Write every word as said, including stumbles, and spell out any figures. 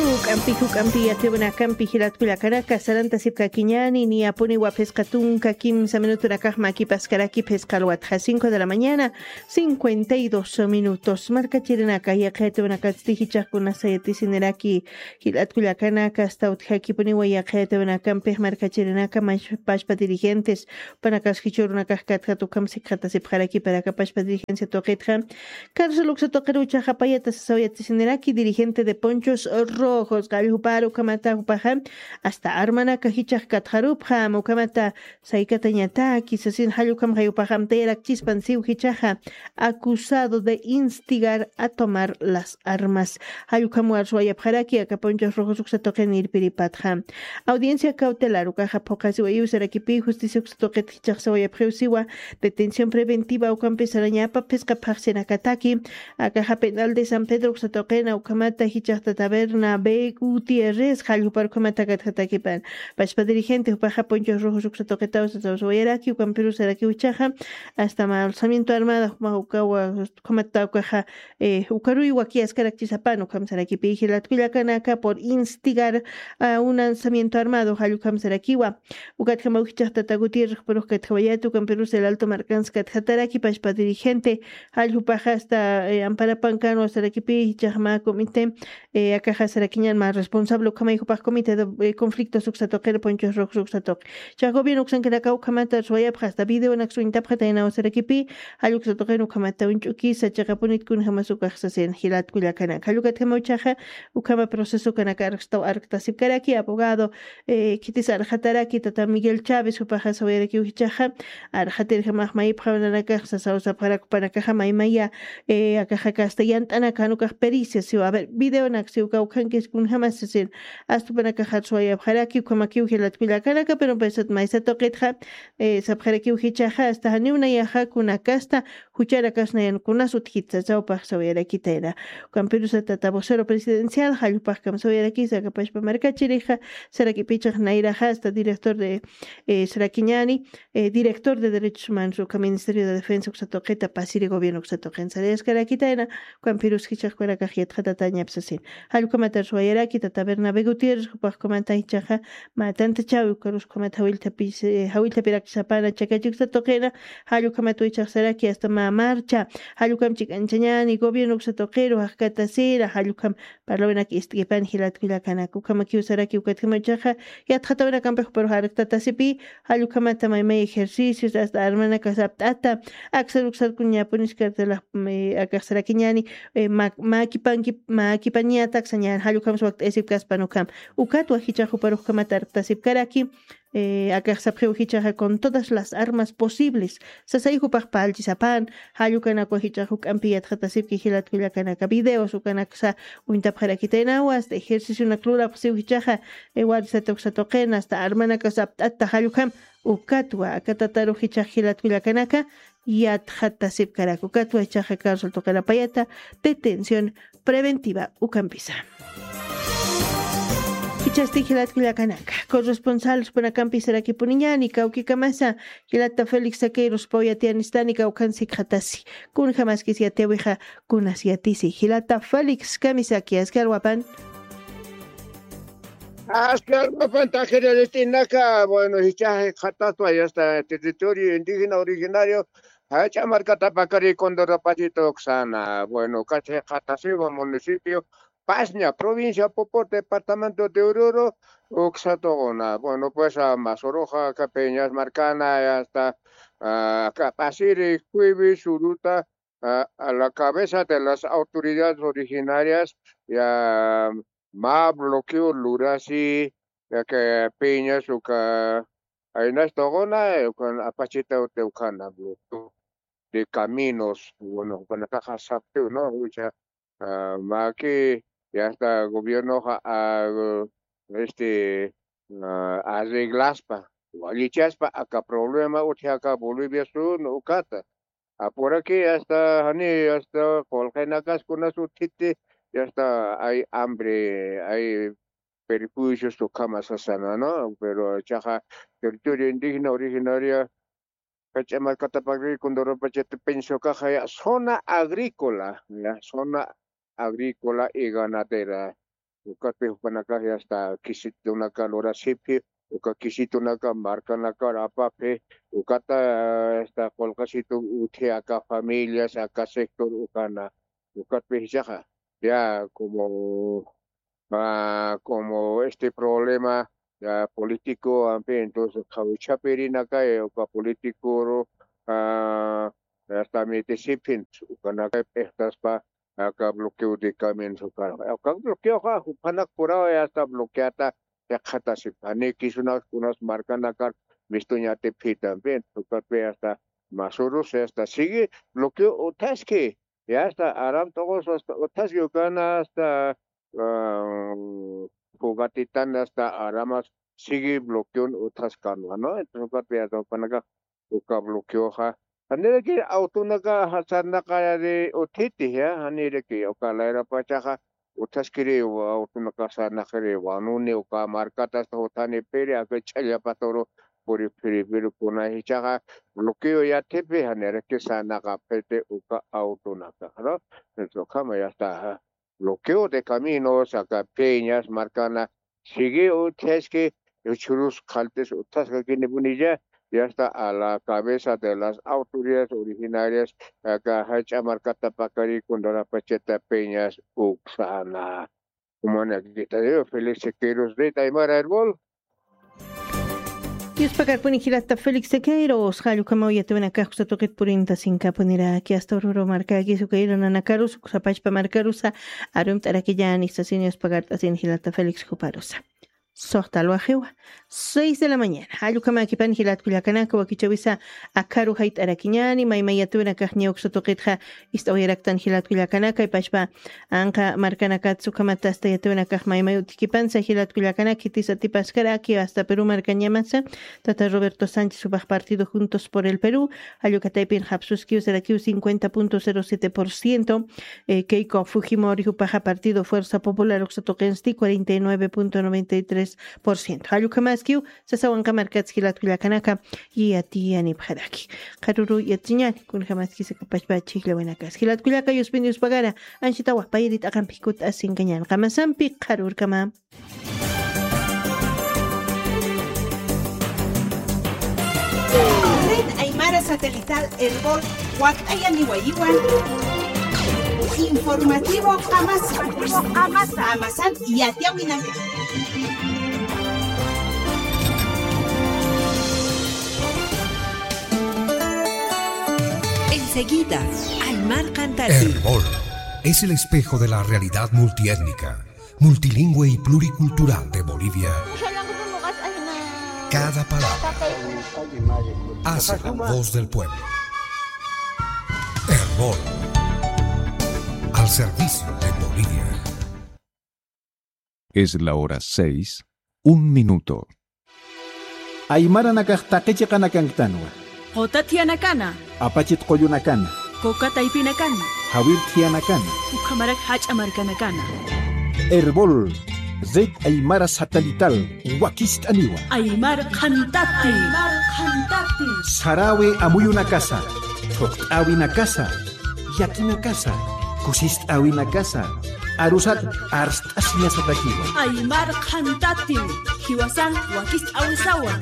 Juk'ampi juk'ampi yatibnakampi jilatkullakanaka sarantasipkakiñani niyapuni waphisqa tunka kimsa minutunakax makipaskaraki phisqalwatxa cinco de la mañana cincuenta y dos minutos. Markachirinaka yaqhayatibnakatsti jichaqkunasa yatisiniraki jilatkullakanaka asta utjakipuniwa yaqhayatibnakampix markachirinaka pashpa dirigentes panakas jichurunakax katjat ukham sikxatasipxaraki parakapashpa dirigencia tuqitxa. Carlos luksa tuqiruchaxa payata sasaw yatisiniraki dirigente de ponchos rojos qalljuparu ukhamata jupaxa asta armanaka jichax katxarupxam ukhamata saykatañataki sasin jallukhamxay jupaxa amtayarakchispan siw jichaxa acusado de instigar a tomar las armas. Jallukhamwar suwayapxaraki aka ponchos rojos uksa tuqin irpiripatxa. Audiencia cautelar ukaxa phuqasiwayiw sarakipi justicia uksa tuqit jichaxsawayapxiw siwa detención preventiva ukampi sarañapa phisqa phaxsinakataki akaxa penal de san pedro uksa tuqina ukhamata jichaxta taberna b gutierrez jallupar ukhamata katjatakipan pashpa dirigente jupaxa ponchos rojos uksa tuqitaw sasawayaraki ukampiru sarakiw jichaxa asta ma alzamiento armada juma ukawa ukhamata ukaxa ukaruy wakiyaskarakchisapan ukham sarakipi jilatkullakanaka por instigar a un lanzamiento armado jallukam sarakiwa. Ukatkama ujichaxtata gutierrexpurux katjawayat ukampirus el alto markans katjataraki pashpa dirigente jalljupaxa asta amparapankanwa sarakipi jichaxma comité akaxa sarakiñan ma responsable ukhamay jupax comité de conflictos uksa tuqir ponchos rojos uksa tuqi chax gobierno uksankanakaw ukhamata suwayapxa asta videonak suñtapxataynaw sarakipi jalluksa tuqin ukhamata uñch'ukisa chiqapunit kunjamas ukax sasin jilatkullakanaka jallukatjama uchaxa ukhama procesokanaka arqstaw arqtasipkaraki abogado khitis arqataraki tata miguel chávez jupaxa sawayarakiw jichaxa arqatirjamax mayipxawnanakax sasawsapxarakupanakaxa maymaya akaxaka asta yant'anakan ukax pericia siw a ver videonak siw kawkhankis kunjamas sasin astupanakaxar suwayapxaraki ukhamakiw jilatkullakanaka pero paysat maysa tuqitxa sapxarakiw jichaxa asta janiw nayaxa kunakasta jucharakas nayan kunas utjit sasaw paxsawayarakitayna ukampirusatata vocero presidencial jallpaxkam sawayarakisa akapashpa markachirixa sarakipichax nayraxa asta director de sarakiñani director de derechos humanos uka ministerio de defensa uksa tuqita pasiri gobierno uksa tuqin sarayaskarakitayna ukampirus jichaxkunakax yatxatatañapsasin jallukamatar suwayaraki tata bernabe gutierrez jupaxkumanta jichaxa mä tantachawi ukaruskumat jawillthapirakisapana chakachiksa tuqina jallukhamat wichaxsaraki asta mä marcha jallukhamchik anchañani gobierno uksa tuqiru jaqkatasira jallukham parlawinak ist'kipan jilatkullakanak ukhamakiw saraki ukatkhamachaxa yatxatawinakampix juparux arktata sipi jallukhamata maymay ejercicios asta armanakas apt'ata aksar uksar kuñapunis kartelax akaxsarakiñani makipanki makipañataksañan jallukhamsa wakt'ayasipkaspan ukham ukatwa jichax juparux ukhamata arktasipkaraki akaxsapxiw jichaxa con todas las armas posibles sasay jupax pallchisapan jallukanakwa jichax juk'ampi yatxatasipki jilatkullakanaka videos ukanaksa uñtapxarakitaynawa asta ejercicionak lurapxsiw jichaxa warisata uksa tuqina asta armanakas apt'atta jallukham ukatwa akatatarux jichax jilatkullakanaka yatxatasipkarak ukatwa jichaxa carcel tuqinapayata detención preventiva ukampisa jichhasti jilatkullakanaka corresponsal supanakampi sarakipuniñani kawkikamasa jilata félix saqueirus pawayatiyanistani kawkhan sikxatasi kunjamaskis yatiyawixa kunas yatisi jilata félix kamisaki askar wapan askar wapan taxiriritinaka bueno jichhax jikxatatwa yasta territorio indígena originario jach'a markatapakari condorapachita uksana bueno kachi jikxatasiwa municipio pasña provincia popo departamento de ururu uksatuquna bueno pues masuruxa kapiñas markana asta kapasiri jueves uruta a la cabeza de las autoridades originarias ya ma bloqueo lurasi ya que piñas uka aynas tuquna ukan apachita uti ukana bloqueo de caminos bueno ukanakaxa saptiw no ucha maki ya está gobiernoxa este arreglaspa wallichaspa aka problema utji aka bolivia sur ukata apuraki hasta jani hasta qullqinakas kunas utjiti ya está hay hambre hay perjuicios ukhama sasana no pero chaqa territorio indígena originaria kach'a markatapakri condorapachata pensiokaxa ya zona agrícola ya zona agrícola y ganadera Ukatpï jupanakax ya está quisitunaka lurasipxi, uka quisitunaka markanakar apapxi, ukata, eh, está qullqisitu utji aka familias, aka sector ukana. Ukatpï jichhaxa, ya como, ah, como este problema, ya político, en fin, entonces, qhawchhapirinaka, eh, uka político, ah, hasta mitisiphin, ukanaka p'iqtaspa, aka bloqueo de caminos, uka, uka bloqueoxa, jupanak puraw, ya está bloqueata, yaqhatasipani, kisunak, kunas markanakar, mistuñatipxi también, ukatpï hasta Masurus, ya está, sigue bloqueo utjaski, ya está, aram todos hasta utjaski, ukana hasta, ah, Jugatitana hasta aramas sigue bloqueon utjaskanwa, ¿no? Entonces, ukatpï hasta jupanaka, uka bloqueoxa. Janiraki autonaka sarnaqari utjiti, ya, janiraki uka layrapachaxa, utjaskiri autonaka sarnaqiri wanuni, uka markata hasta jutani piri, aka ch'allapaturu puri piri piri kuna jichhaxa, bloqueo yathipi, janiraki sarnaqapxiti uka autonaka, ¿no? Entonces, ukhama ya está, bloqueo de caminos, aka Peñas markana, sigue utjaski, uchurus qhaltis utjaskakinipuniya, ya está a la cabeza de las autoridades originarias, aka jach'a markata pakari Cundinamarca pachata Peñas uksana. Umanakita, Félix Siqueiros, Red Aymara Erbol. Yuspakarpuni jilata Félix Siqueiros, jall ukhamaw yatiyäwinakax uksa tuqit purinta sinkapuniraki, hasta Oruro markakis, uka irunanakarus, uksa pachpa markarusa, arumt'arakillani, sasin yuspakart'asin jilata Félix juparusa. Suxta alwajiwa, seis de la mañana. Jall ukhamäkipan jilat kullakanaka, wakichäwisa akharu jayt'arakiñäni, maymay yatiyäwinakax niya uksa tuqitxa ist'awayaraktan jilat kullakanaka, pachpa anqa markanakat ukhamat hasta yatiyäwinakax maymay utjkipansa jilat kullakanaka, khitis atipaskaraki hasta Perú markañamasa, tata Roberto Sánchez jupax partido Juntos por el Perú, jall uka taypin japsuskiw sarakiw cincuenta punto cero siete por ciento, eh, Keiko Fujimori jupaxa partido Fuerza Popular uksa tuqinsti cuarenta y nueve punto noventa y tres por ciento. Jall ukhamaskiw, sasawanqa markats jilat kullakanaka, yatiyanipxaraki. Qharüru yatiñäni, kunjamaskis aka pachpa chhijllawinakas. Jilat kullaka, yuspin yuspagara, anchitawa payri t'aqampi kut'asinkañäni. Qamasampi qharürkama. Red Aymara Satelital Erbol wakt'ayaniwayiwan. Informativo Qamasa. Qamasan yatiyäwinaka. Enseguida, Aymar Qhantati. Erbol es el espejo de la realidad multiétnica, multilingüe y pluricultural de Bolivia. Cada palabra hace la voz del pueblo. Erbol, al servicio de Bolivia. Es la hora seis, un minuto. Aymaranakax taqi chiqanakanktänwa. Quta thiyanakanxa. Apachit qullunakana. Kuka taypinakana. Jawir thiyanakanxa. Ukhamarak jach'a markanakana. Erbol, Red Aymara Satelital, wakist'aniwa. Aymar Qhantati. Aymar Qhantati. Saräwi amuyunakasa, thuqt'äwinakasa, yatinakasa, kusist'äwinakasa, arusat arst'asiñasatakiwa. Aymar Qhantati, jiwasan wakist'äwisawa.